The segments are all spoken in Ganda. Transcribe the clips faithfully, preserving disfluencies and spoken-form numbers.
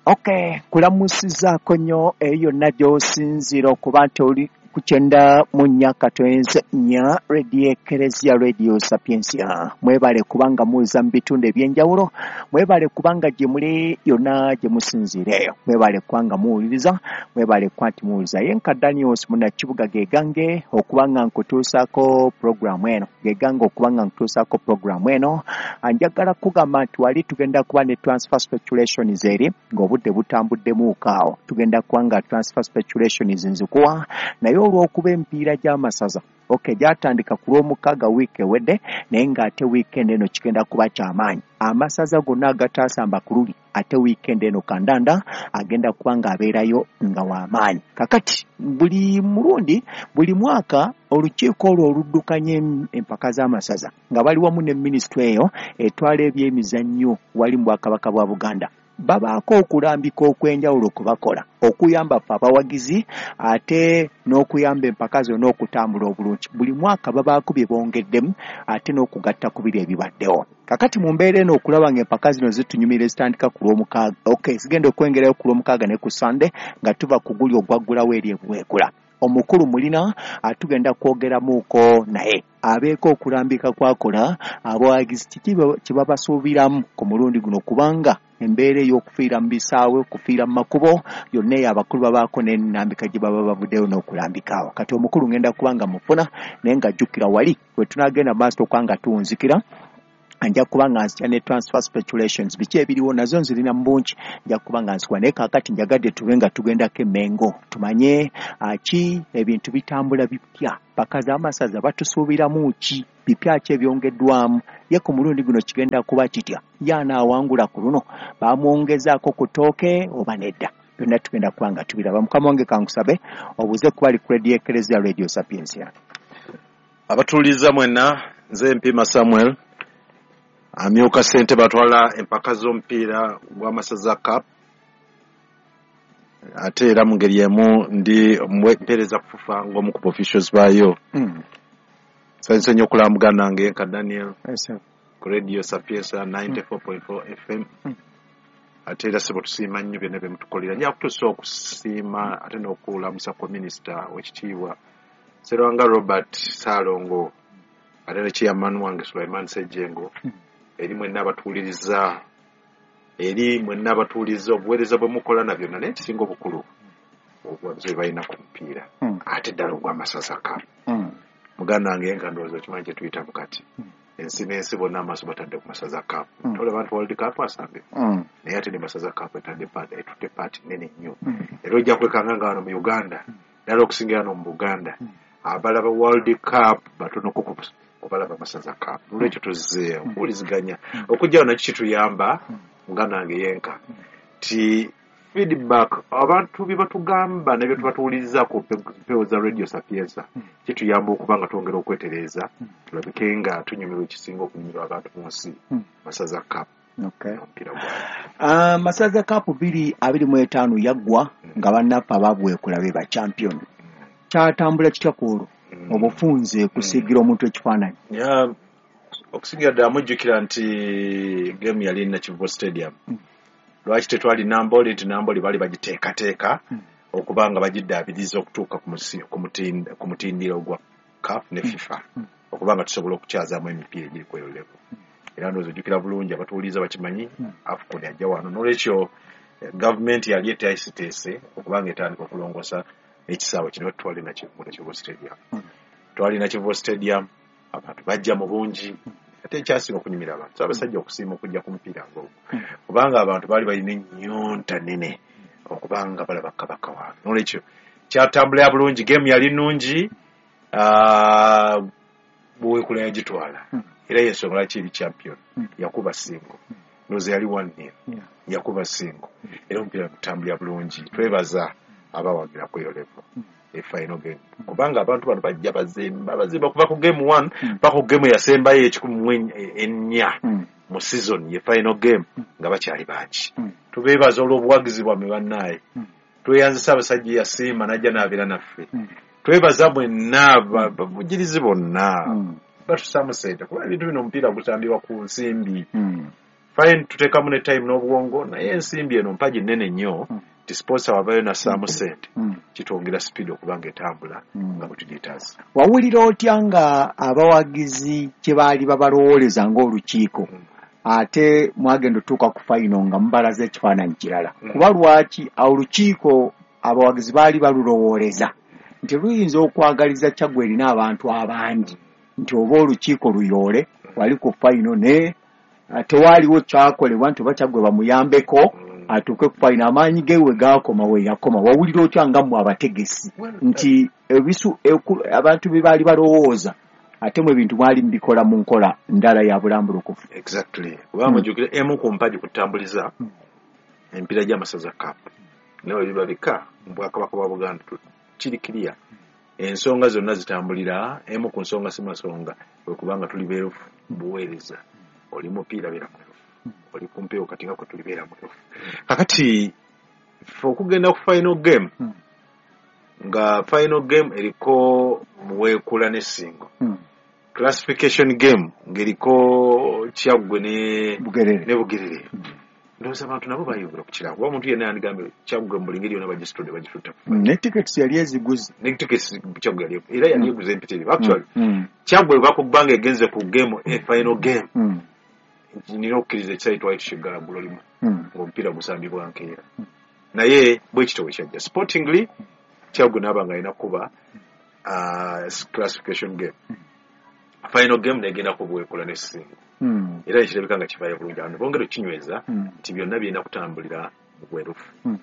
Okay, kulamusizaako nnyo eyo yonna gy'osinziira okuba nti oli ku kyenda mu nnya katoenze nnya Radio Ekereziya, Radio Sapiensia. Mwebale kubanga muza mu bitundu ebyenjawulo, mwebale kubanga gye muli yonna gye musinziira eyo, mwebale kubanga muwuliriza, mwebale kuba nti muwuliriza. Ye nka Daniels Munnakibuga gegange okuba nga nkutuusaako puroguramu eno, gegange okuba nga nkutuusaako puroguramu eno. Njagala kugamba nti wali tugenda kuba ne transfer speculations eri ng'obudde butambuddemuuko awo, tugenda kuba nga transfer speculations nzikuwa, naye olw'okuba emipiira gy'amasaza okay gyatandika ku lw'omukaaga wiiki ewedde, naye ng'ate weekend eno kigenda kuba kyamaanyi. Amasaza gonna agataasamba ku luli, ate weekend eno kandanda agenda kuba ng'abeerayo nga w'amaanyi. Kakati buli mulundi, buli mwaka, olukiiko olwo oluddukanya empaka z'amasaza nga bali wamu ne minisitule eyo etwala ebyemizannyo wali mu Bwakabaka bwa Buganda, babaako okulambika okw'enjawulo kwe bakola okuyamba ffe abawagizi ate n'okuyamba empaka zonna okutambula obulungi. Buli mwaka babaako bye bongeddemu ate n'okugatta ku biri ebibaddewo. Kakati mu mbeera eno, okulaba ng'empaka zino zitunyumira, ezitandika ku lw'omukaaga, okay, zigenda okwengerayo ku lw'omukaaga ne ku Sande nga tuva ku guli ogwaggulawo eri ebuweekula, omukulu mulina atugenda kwogeramuuko naye abeeko okulambika kwakola abawagizi kiki kye babasuubiramu ku mulundi guno, kubanga embeera ey'okufiira mu bisaawe, okufiira mu makubo yonna eyo, abakulu babaako n'ennambika gye baba bavuddeyo n'okulambikaawo. Kati omukulu ngenda kuba nga mufuna, naye nga jjukira wali bwe tunaagenda maaso okuba nga tuwunzikira, nja kuba nga nzija ne transfer speculations, biki ebiriwo, nazo nzirina mu bungi, nja kuba nga nzikuwa. Naye kaakati njagadde tube nga tugendako Emmengo tumanye ki ebintu bitambula bipya, paka z'amasaza batusuubiramu ki, bipya ki ebyongeddwamu, ye ku mulundi guno kigenda kuba kitya, ye anaawangula ku luno bamwongezaako ku ttooke oba nedda. Byonna tugenda kuba nga tubiraba. Mukama wange, kankusabe obuze kuba ali ku Radio Ekereziya, Radio Sapiensia. Abatuuliza mwenna, nze Mpima Samuel, amyuka ssentebe atwala empaka z'omupiira gw'Amasaza Cup, ate era mu ngeri emu ndi mpeereza kufufa ng'omu ku officials baayo. mm. Nsanyuse nnyo okulambuga nange nka Daniel Yes, ku Radio Sapiensia ninety-four point four F M. Mm. Ate era sebo tusiima nnyo byonna bye mutukolera. Nja kutuusa okusiima ate n'okulamusa kwa minisita w'ekitiibwa Serwanga Robert Saalongo, ate ne chairman wange Sulaiman Sejjengo, eri mwenna abatuwuliriza, eri mwenna abatuwuliriza, obuweereza bwe mukola na byonna, naye ekisinga obukulu obuwagizi bwe balina ku mupiira, Mm. ate ddala ogw'Amasaza Cup. Mm. Muganda wange, nga ndowooza okimanyi kye tuyitamu kati, Mm. ensi n'ensi bonna amaaso batadde ku Masaza Cup. Mm. Tolaba nti World Cup asambye, Mm. naye ate ne Masaza Cup etadde part, etutte part nene nnyo. Mm. Era ojja kwekanga nga wano mu Uganda, ddala okusingira wano mu Buganda, Mm. abalaba World Cup batonoko ku kubalaba Masaza Cup. Nolwekyo tuzze okuwuliziganya okujja wano kituyamba, muganda wange yenka, ti feedback abantu bye batugamba ne bye tubatuwuliriza ku mpewo za Radio Sapienza kituyamba okuba nga twongera okwetereeza, tulabike nga tunyumirwa ekisinga okunyumirwa abantu mu nsi, Mm. Masaza Cup, Okay. omupiira gwayo. Uh, Masaza Cup bbiri abiri mu etaano yaggwa nga bannaffe ababuweekula be ba champion. Kyatambula kitya ku olwo Mm. obufunze kusiigira omuntu ekifaananyi? Ya, okusingira ddala mujjukira nti game yali Nakivubo Stadium. Mm. Lwaki tetwali Namboli? Nti Namboli baali bagiteekateeka Mm. okuba nga bagiddaabiriza okutuuka ku musi- ku mutind- ku mutindiro gwa CAF ne FIFA, Mm. okuba nga tusobola okukyazaamu emipiira egiri ku eyo level. Era ndowooza ojjukira bulungi, abatuwuliriza bakimanyi, Mm. AFCON yajja wano, nolwekyo eh, gavumenti yali eteeseteese okuba nga etandika okulongoosa ekisaawe kino. Twali Nakivubo Stadium. Mm. Twali Nakivubo Stadium, abantu bajja mu bungi, ate ekyasinga okunyumira abantu, Ssaabasajja okusiima okujja ku mupiira ng'ogwo, Mm. kubanga abantu baali balina ennyonta nene okubanga balaba kabaka waabwe. Nolwekyo kyatambulira bulungi, game yali nnungi, ah, Buweekula yagitwala. Mm. Era yensonga lwaki eri champion. Mm. Yakuba Singo, ndowooza yali one nil. Yeah. Yakuba Singo era omupiira gutambulira bulungi. Twebaza abawagira ku eyo level, Mm. e final game, kubanga abantu bano bajja bazimba bazimba kuva ku game one Mm. paka ku game eyasembayo ekikumi mu ennya Mm. mu season, ye final game, nga bakyali bangi. Mm. Tubeebaza olw'obuwagizi bwammwe bannaaye. Mm. Tweyanzisa abasajja yasiima najja n'abeera naffe. Mm. Twebaza mwenna ba- bavujjirizi bonna Mm. batusaamu sente, kuba ebintu bino, omupiira gutambibwa ku nsimbi. Mm. Fine, tuteekamu ne time n'obwongo, naye ensimbi eno mpagi nnene nnyo Mm. nti sponsor wavayo nassaamu ssente, Mm. kitwongera speed okuba nga etambula Mm. nga bwe tugyetaaza. Wawulira otya nga abawagizi kye baali babalowooleza ng'olukiiko, Mm. ate mwagenda otuuka ku final nga mubalaza ekifaananyi kirala? Mm. Kuba lwaki olukiiko abawagizi baali balulowooleza nti luyinza okwagaliza Kyaggwe erina abantu abangi, nti oba olukiiko luyoole wali ku final, ne tewaaliwo kyakolebwa nti oba Kyaggwe bamuyambeko Mm. atuuke ku final, amaanyi ge we gaakoma we yakoma. Wawulira otya nga mmwe abategesi Well, nti ebisu eku- abantu bye baali balowooza ate mwe ebintu mwali mubikola mu nkola ndala ya bulambulukufu? Exactly, kubanga Mm. mujjukire emu ku mpagi kutambuliza Mm. emipiira gy'amasaza cup, naye bwe biba bika mu Bwakabaka bwa Buganda tu- kiri kiriya, ensonga zonna zitambulira emu ku nsonga, si masonga, kwe kubanga tuli beerufu buweereza. Oli mupiira beera mwerufu, oli ku mpewo kati nga kwe tuli beera mwerufu. Kakati ffe okugenda ku final game, Mm. nga final game eriko Muweekula ne Ssingo, Mm. classification game ng'eriko Kyaggwe ne Bugerere. ne Bugerere, ndowooza abantu nabo bayubula ku kirabo, kuba omuntu yenna yandigambye Kyaggwe mu buli ngeri yonna bagisitudde bagitutta. Mm, ne tickets yali eziguze. Ne tickets Kyaggwe yali era yali Mm. eguze empitirivu actually. Mm. Kyaggwe bakubanga egenze ku game, e final game, Mm. nina okukkiriza ekisaawe twali tukiggala ggulo limu Mm. ng'omupiira gusambibwa nkeera, naye bwe kityo bwe kyajja. Sportingly Kyaggwe naaba nga alina kuba uh, classification game, final game negenda ku Buweekula ne Ssingo, Mm. era ekirabika nga kivaayo bulungi. Abantu bongera okinyweza Mm. nti byonna birina kutambulira mu bwerufu. Mm.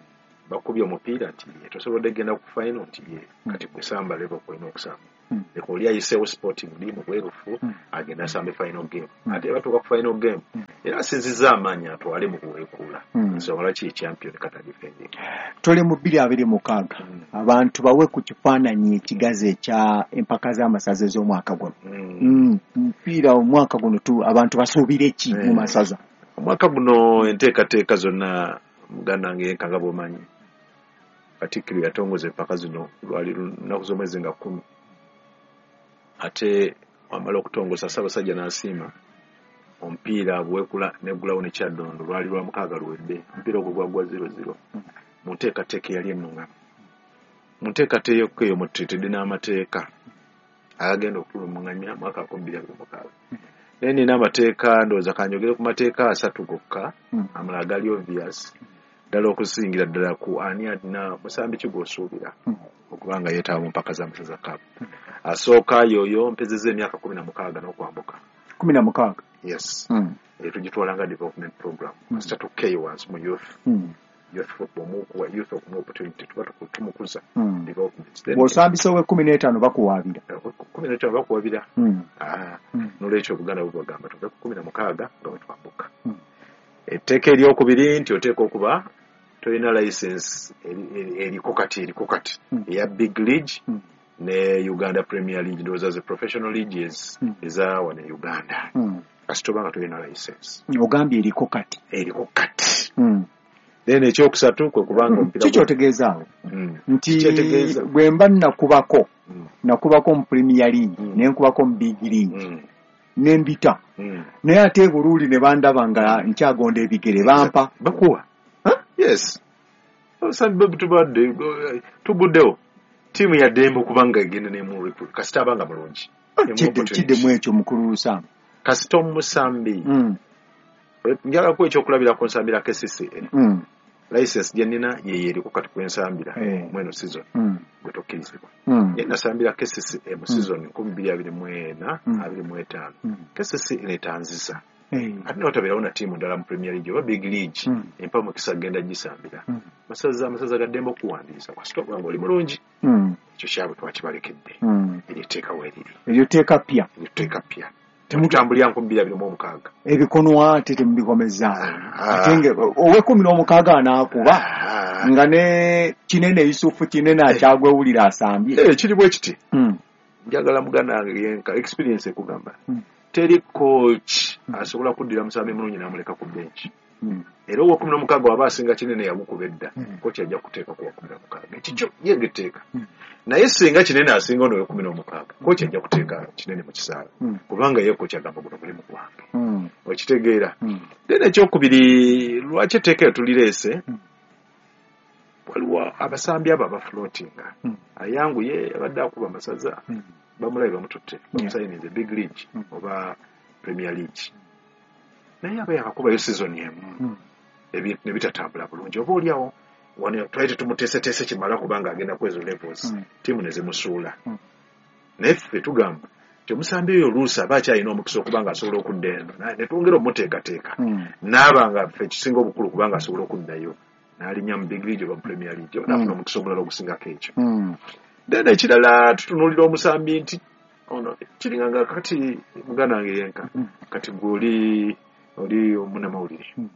Bakubye omupiira nti ye tosobodde genda ku final, nti ye Mm. kati gwe samba level kwolina okusamba, Mm. leka oli ayiseewo sportingly mu bwerufu Mm. agenda asambe final game. Mm. Ate batuuka ku final game, Mm. era asinzizza amaanyi atwale mu Buweekuula, Mm. ensonga lwaki ye champion kata defending. Tuli mu bbiri abiri mukaaga. Mm. Abantu bawe ku kifaananyi ekigazi ekya empaka z'amasaza ez'omwaka guno. Mm. Mm, mupiira omwaka guno tu abantu basuubire ki mu Eh. masaza? Omwaka guno enteekateeka zonna, muganda wange yenka nga bw'omanyi, Katikkiro yatongoza empaka zino lwali lunaku z'omwezi nga kkumi, ate wamala okutongoza Ssaabasajja n'asiima omupiira Buweekula neggulawo ne Kyaddondo lwali lwa mukaaga luwedde. Omupiira ogwo gwagwa zero zero mu nteekateeka eyali ennungamu. Mu nteekateeka eyo mututeetedde n'amateeka agagenda okutulungamya mwaka nkumi bbiri abiri mukaaga, naye nina amateeka, ndowooza kanjogere ku mateeka asatu gokka, Mm. amalala gali obvious ddala, okusingira ddala ku ani alina musambi ki gw'osuubira Mm. okuba nga yeetaba mu mpaka z'amasaza cup. Asooka yoyo mpezezza emyaka kumi na mukaaga n'okwambuka. Kumi na mukaaga? Yes. Mm. Eyo tugitwala nga development program. Mm. Kasita tukkeeyo wansi mu youth, Mm. youth football, mukuwa youth okumuwa opportunity, tuba tuku- tumukuza Mm. development. Then Bw'osambisa ow'ekkumi n'etaano bakuwaabira? Kumi n'etaano bakuwabira. Mm. Ah, Mm. nolwekyo Obuganda bubagamba tuve ku kumi na mukaaga nga bwe twambuka. Mm. Etteeka eryokubiri nti oteeka okuba tolina license eri- eri- eriko kati eriko kati Mm. eya big league Mm. ne Uganda Premier League, ndowooza ze professional leagues Mm. eza wano e Uganda. Mm. Kasita oba nga tolina license Ogambye eriko kati? Eriko kati. Mm. Then ekyokusatu kwe kubanga omupiira Kiki otegeeza awo? Mm. Nti Kikyetegeeza. bwe mba nakubako, Mm. nakubako mu Premier League, Mm. ne nkubako mu big league, Mm. ne mbita, Mm. naye ate e Buruuli ne bandaba nga nkyagonda ebigere, bampa? Bakuwa. Huh? Yes, osambi tubadde tuguddewo ttiimu ya ddembe okubanga egenda nemu kasita abanga mulungi. Emu Kidde- opportunity. Kiddemu ekyo, mukulu Lusamba. Kasita omusambi, Mm, njalako ekyokulabirako, nsambira K C C A, mm, license gye nnina yeyo eriko kati kwensambira Eh. mweno season, mm, gwe tokkirizibwa. mm, Naye nasambira K C C A mu season nkumi bbiri abiri mu ena Mm. abiri mu etaano, mm. K C C A netanzisa. Eh, Ate notabeerawo na ttiimu ndala mu Premier League oba big league Mm. empa mukisa genda gisambira. mm, Masaza, amasaza ga ddembe okuwandiisa kasita oba nga oli mulungi. mm, Ekyo kyabwe twakibalekedde. mm. Eryo etteeka weeriri. Eryo tteeka ppya? Eryo tteeka ppya. Temu- Temutambulira nkumi bbiri abiri mu omukaaga. Ebikonwa ate temubikomezaawo? Ah. Ate nga ow'ekkumi n'omukaaga anaakuba Ah. nga ne Kinene Yusufu Kinene akyagwewulira asambye? Eh, kiri bwe kiti. Mm, Njagala muganda wange yenka experience ekugamba, Mm. teri coach asobola kuddira musambi mulungi n'amuleka ku bench. Mm. Era ow'ekkumi n'omukaaga waba asinga Kinene yamukuba edda, Mm. kochi ajja kuteeka ku wa kkumi na mukaaga. Ekikyo ye ng'etteeka. Mm. Naye singa Kinene asinga ono ow'ekkumi n'omukaaga, kochi ajja kuteeka Kinene mu kisaawe. Mm. Kubanga ye kochi agamba guno mulimu gwange. Mm. Okitegeera. Mm. Then ekyokubiri, lwaki etteeka eryo tulireese? Mm. Waliwo abasambi abo abafloatinga. Mm. Ayanguye abadde akuba amasaza, Mm. bamulabe bamututte, bamusayinize Big League Mm. oba Premier League. Naye aba yakakubayo season emu. Mm. Ebintu ne bitatambula bulungi. Oba oliawo wano twali tetumuteeseteese kimala kubanga agenda ku ezo levels, Mm. ttiimu ne zimusuula. Mm. Naye ffe tugamba nti omusambi oyo oluusi aba akyalina omukisa okuba nga asobola okudda eno, na-, ne twongera omuteekateeka. Mm. N'aba nga ffe ekisinga obukulu kubanga asobola okuddayo n'alinnya mu Big League oba mu Premier League, oba n'afuna Mm. omukisa omulala ogusingako ekyo. Mm. Then ekirala tutunuulira omusambi nti ono kiringa nga kati muganda wange yenka, Mm. kati gwe oli, oli omunnamawulire. Mm.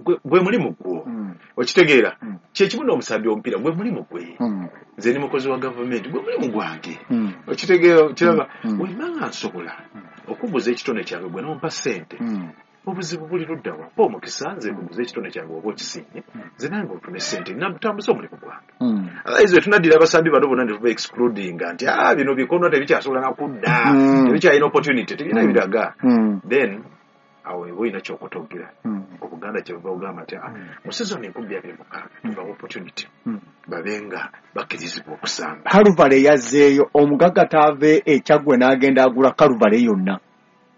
Gwe, gwe mulimu gwo. Mm. Okitegeera? Mm. Kye kimu n'omusambi w'omupiira, gwe mulimu gwe. Mm. Nze ndi mukozi wa gavumenti, gwe mulimu gwange. Mm. Okitegeera, okiraba? Mm. Bwe mba nga nsobola Mm. okuguza ekitone kyange gwe n'ompa ssente, Mm. obuzibu buli ludda wa? Mpa omukisa nze nkuguze ekitone kyange oba okisiimye, Mm. nze nange nfune ssente, nnatambuza omulimu gwange. Mm. Otherwise bwe tunaddira abasambi bano bonna ne tuba excludinga nti, ah, bino bikono tebikyasobola na kudda, Mm. tebikyalina opportunity, tebirina Mm. biraga. Mm. Then awo oba olina ky'okutogera. Mm. Obuganda kye buva bugamba nti, ah, Mm. mu season enkumi abiri mukaaga tubawa opportunity Mm. babe nga bakkirizibwa okusamba. Kaluvale yazzeeyo, omugagga taave e Kyaggwe n'agenda agula Kaluvale yonna,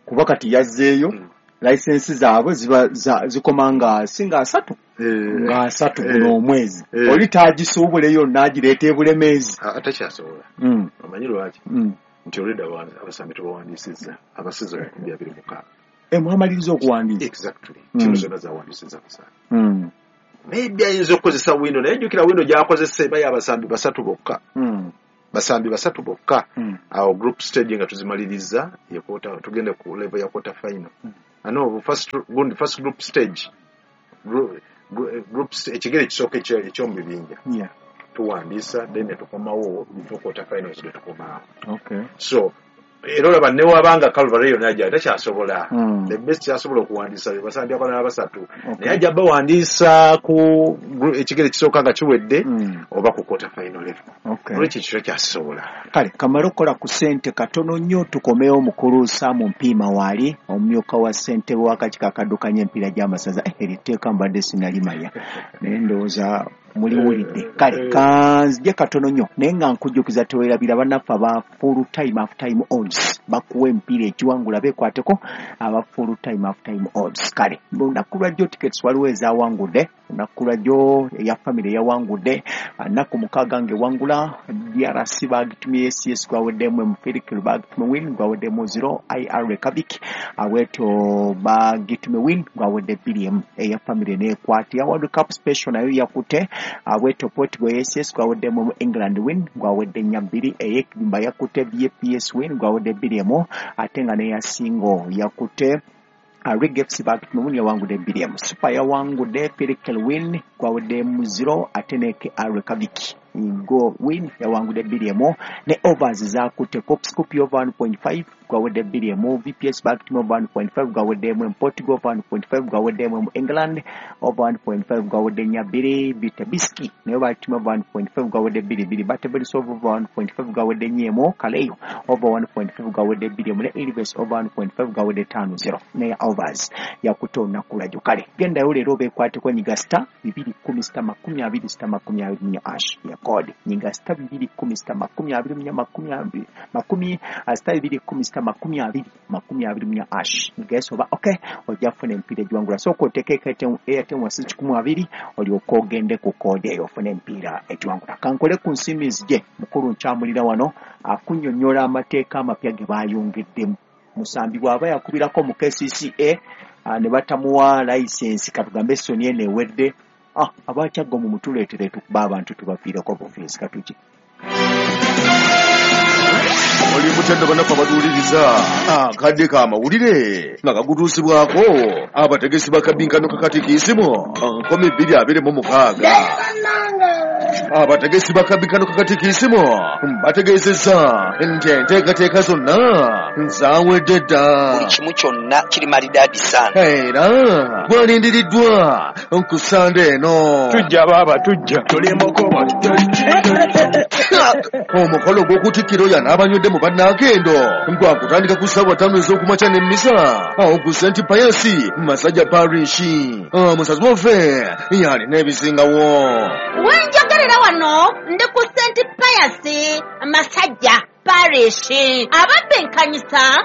kuba kati yazzeeyo. Mm. License zaabwe ziba za-, zikoma nga si nga asatu, Eh. nga asatu Eh. guno omwezi. Eh. Oli taagisuubule yonna agireeta e Bulemeezi. Ah, takyasobola. Mm. Omanyi lwaki? Mm. Nti olwedda abawandiisi, abasambi tubawandiisizza aba season enkumi abiri mukaaga. Eh, mwamaliriza okuwandiisa? Exactly. Mm. Ttiimu zonna zawandiisizza abasambi. Mm. Maybe ayinza okukozesa window, naye jjukira window gy'akozesa eba y'abasambi basatu bokka. Mm. Basambi basatu bokka. Mm. Awo group stage nga tuzimaliriza, ye quarter, tugende ku level ya quarter final. Mm. Ano, first, gundi, first group stage. Group, group st-, ekigere ekisooka ekyo, eky'omu bibinja. Yeah. Tuwandiisa, then ne tukomawo before quarter finals ne tukomaawo. Okay. So, era olaba ne wabanga Calvary yonna gyali takyasobola. Mm. The best kyasobola okuwandiisa be basambi abalala basatu. Okay. Naye ajja bawandiisa ku gru-, ekigere ekisooka nga kiwedde, Mm. oba ku quarter final level. Okay. Olwekyo ekyo kyasobola. Kale, kamale okukola ku ssente katono nnyo tukomewo mukulu Sam Mpiima waali, omumyuka wa ssentebe w'akakiiko akaddukanya emipiira gy'amasaza. Eh, eryo etteeka mbadde sinalimanya, naye ndowooza muliwulidde. Kale, kanzije katono nnyo, naye nga nkujjukiza teweerabira bannaffe aba full time half time odds bakuwa emipiira egiwangula beekwateko aba full time half time odds. Kale, lunaku lwa jjo tickets waliwo ezawangudde, lunaku lwa jjo eya family yawangudde, nnaku mukaaga ng'ewangula, D R C bagitumye S S gwaweddemu Mufirikiro bagitumye win gwaweddemu zero, I R Kabik aweto bagitumye win gwawedde bbiri emu, eya family n'ekwata. Ya World Cup special nayo yakutte, aweto Portugal S S gwaweddemu England win gwawedde nnya bbiri, ey'ekibimba yakutte B P S win gwawedde bbiri emu, ate nga n'eya single yakutte Rig F C bagitumye win yawangudde bbiri emu, Super yawangudde Pelican win gwawedde mu zero, ate ne K R Kabik go win yawangudde bbiri emu, ne overs zakutte Cop Scoop over one point five gwawedde bbiri emu, V P S bagitumye over one point five gwawedde emu, Portugal over one point five gwawedde emu, England over one point five gwawedde nnya bbiri, Bitabiski nayo bagitumye over one point five gwawedde bbiri bbiri, Batebelis over one point five gwawedde nnya emu, Kaleyo over one point five gwawedde bbiri emu, ne Ilves over one point five gwawedde ttaano zero, ne overs yakutte olunaku lwajjo. Kale gendayo leero beekwateko nyiga star bibiri kkumi sita makumi abiri sita makumi abiri mu ash ya code nyiga star bibiri kkumi sita makumi abiri mu makumi abiri makumi star bibiri kkumi sita makumi abiri makumi abiri mu ash nyiga oba okay ojja kufuna emipiira egiwangula. Sooka oteeke Airtel wansi kikumi abiri olyoke ogende ku code eyo ofune emipiira egiwangula. Kankole ku nsimbi nzije mukulu nkyamulira wano akunnyonnyola amateeka amapya ge baayongeddemu. Musambi bw'aba yakubirako mu K C C A ne batamuwa license katugambe Sony eno ewedde, ah, abakyaggo mu mutuleetere tukuba abantu tubafiireko bufiisi katuki. Oli mutendo bannaffe abatuwuliriza akadde k'amawulire nga kagutuusibwako abategesi ba kabinkano kakatikiisimu nkumi bbiri abiri mu mukaaga. Abategesi bakabikano kakatikisimu bategeezezza nti enteekateeka zonna zaawedde dda. Buli kimu kyonna kiri malidaadi sana. Era gwalindiriddwa ku Sande eno. Tujja baaba tujja. Omukolo gw'okutikkira oyo n'abanywedde mu bannakendo gwakutandika ku ssaawa ttaano ez'okumakya n'emmisa awo ku Saint Pius Masajja Parish. Omusazi waffe yalina ebisingawo. Wenjogerera wano ndi ku Saint Pius Masajja Parish. Ababbinkanyi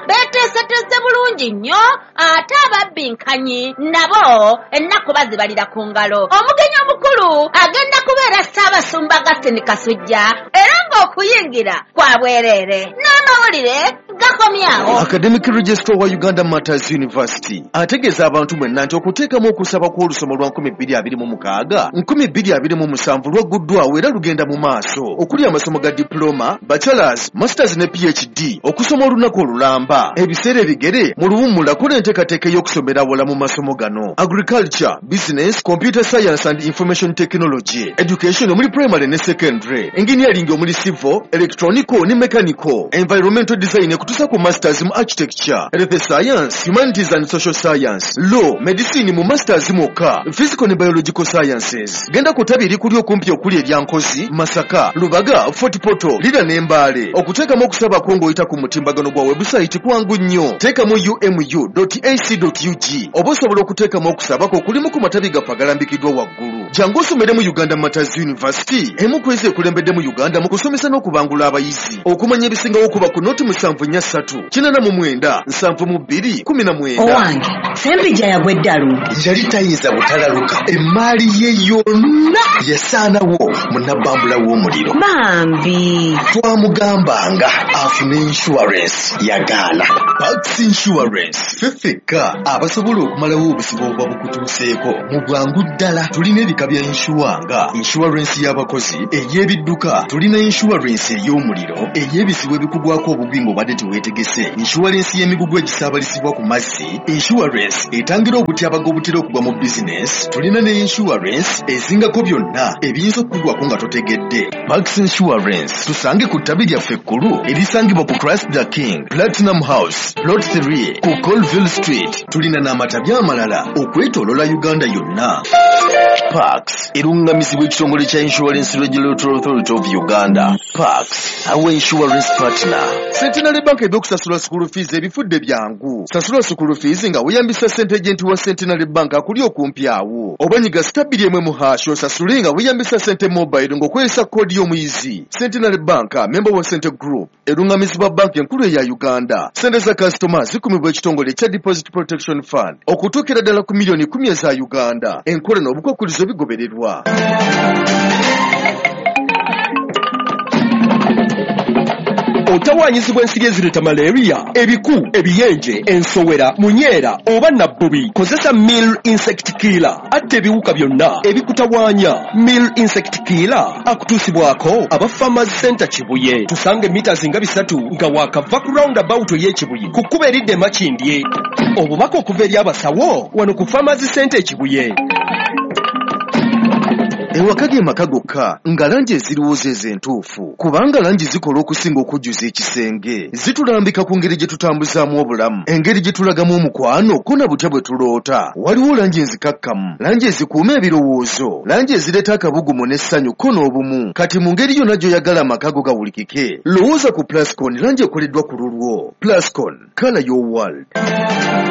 beeteeseteese bulungi nnyo, ate ababbinkanyi nabo ennaku bazibalira ku ngalo. Omugenyi omukulu agenda kubeera Ssaabasumba Augustine Kasujja, era ng'okuyingira kwa bwereere. N'amawulire gakomyawo. Academic Registrar wa Uganda Martyrs University ategeeza abantu mwenna nti okuteekamu okusaba kw'olusoma lwa nkumi bbiri abiri mu mukaaga nkumi bbiri abiri mu musanvu lwagguddwawo era lugenda mu maaso, okuli amasomo ga diploma, bachelors, masters ne P H D, okusoma olunaku olulamba, ebiseera ebigere mu luwummula. Kola enteekateeka ey'okusomera wala mu masomo gano: agriculture, business, computer science and information technology, education omuli primary ne secondary, engineering omuli civil, electronical ne mechanical, environmental design ekutuusa ku masters mu architecture, health science, humanities and social science, law, medicine mu masters mwokka, physical ne biological sciences. Genda ku ttabi erikuli okumpi okuli erya Nkozi, Masaka, Lubaga, Fort Portal, Lira ne Mbale. Okuteekamu okusaba kwo ng'oyita ku mutimbagano gwa webusayiti kwangu nnyo. Teekamu umu dot ac dot ug oba osobola okuteekamu okusaba kwo kulimu ku matabi gaffe agalambikiddwa waggulu. Jangu osomere mu Uganda Martyrs University, emu ku ezo ekulembedde mu Uganda mu kusomesa n'okubangula abayizi. Okumanya ebisingawo kuba ku noti musanvu nnya ssatu kinaana mu mwenda nsanvu mu bbiri kumi na mwenda. Owange, Sempijja yagwa eddalu. Yali tayinza butalaluka, emaali ye yonna yasaanawo mu nabbambula w'omuliro. Bambi. Twamugambanga afune insurance, yagaana. Pax Insurance, ffe ffekka abasobola okumalawo obuzibu obuba bukutuuseeko mu bwangu ddala. Tulina ebika bya insure nga insurance y'abakozi, ey'ebidduka, tulina insurance ey'omuliro, ey'ebizibu ebikugwako obugwi ng'obadde teweetegese, insurance y'emigugu egisaabalizibwa ku mazzi, insurance etangira obutyabaga obutera okugwa mu bizinesi. Tulina ne insurance ezingako byonna ebiyinza okukugwako nga totegedde. Pax Insurance, tusange ku ttabi lyaffe ekkulu erisangibwa ku Christ the King Platinum House, Plot three, ku Colville Street. Tulina n'amatabi amalala okwetoolola Uganda yonna. Pax erungamizibwa ekitongole kya Insurance Regulatory Authority of Uganda. Pax, our insurance partner. Centenary Bank ebyokusasula school fees ebifudde byangu. Sasula school fees nga weeyambisa sente agent wa Centenary Bank akuli okumpi awo, oba nyiga star bbiri emu mu hash osasule nga weeyambisa sente mobile ng'okozesa koodi y'omuyizi. Centenary Bank, member wa Sente Group, erungamizibwa banki enkulu eya Uganda. Sente za kasitoma zikumibwa ekitongole ekya Deposit Protection Fund okutuukira ddala ku miliyoni kumi eza Uganda. Enkola n'obukwakkulizo bigobererwa. Otawaanyizibwa ensiri ezireeta malaria, ebiku, ebiyenje, ensowera, munyeera oba nabbubi, kozesa Mil Insect Killer. Atta ebiwuka byonna ebikutawaanya. Mil Insect Killer akutuusibwako aba Farmers Center Kibuye. Tusanga emita nga bisatu nga waakava ku roundabout ey'Ekibuye ku kkubo eridda e Makindye. Obubaka okuva eri abasawo wano ku Farmers Center Ekibuye. Ewaka ge maka gokka nga langi eziriwo zezo entuufu, kubanga langi zikola okusinga okujjuza ekisenge. Zitulambika ku ngeri gye tutambuzaamu obulamu, engeri gye tulagamu omukwano, ko na butya bwe tuloota. Waliwo langi enzikakkamu, langi ezikuuma ebirowoozo, langi ezireeta akabugumu n'essanyu ko n'obumu. Kati mu ngeri yonna gy'oyagala amaka go gawulikike, lowooza ku Plascon, langi ekoleddwa ku lulwo. Plascon, colour your world.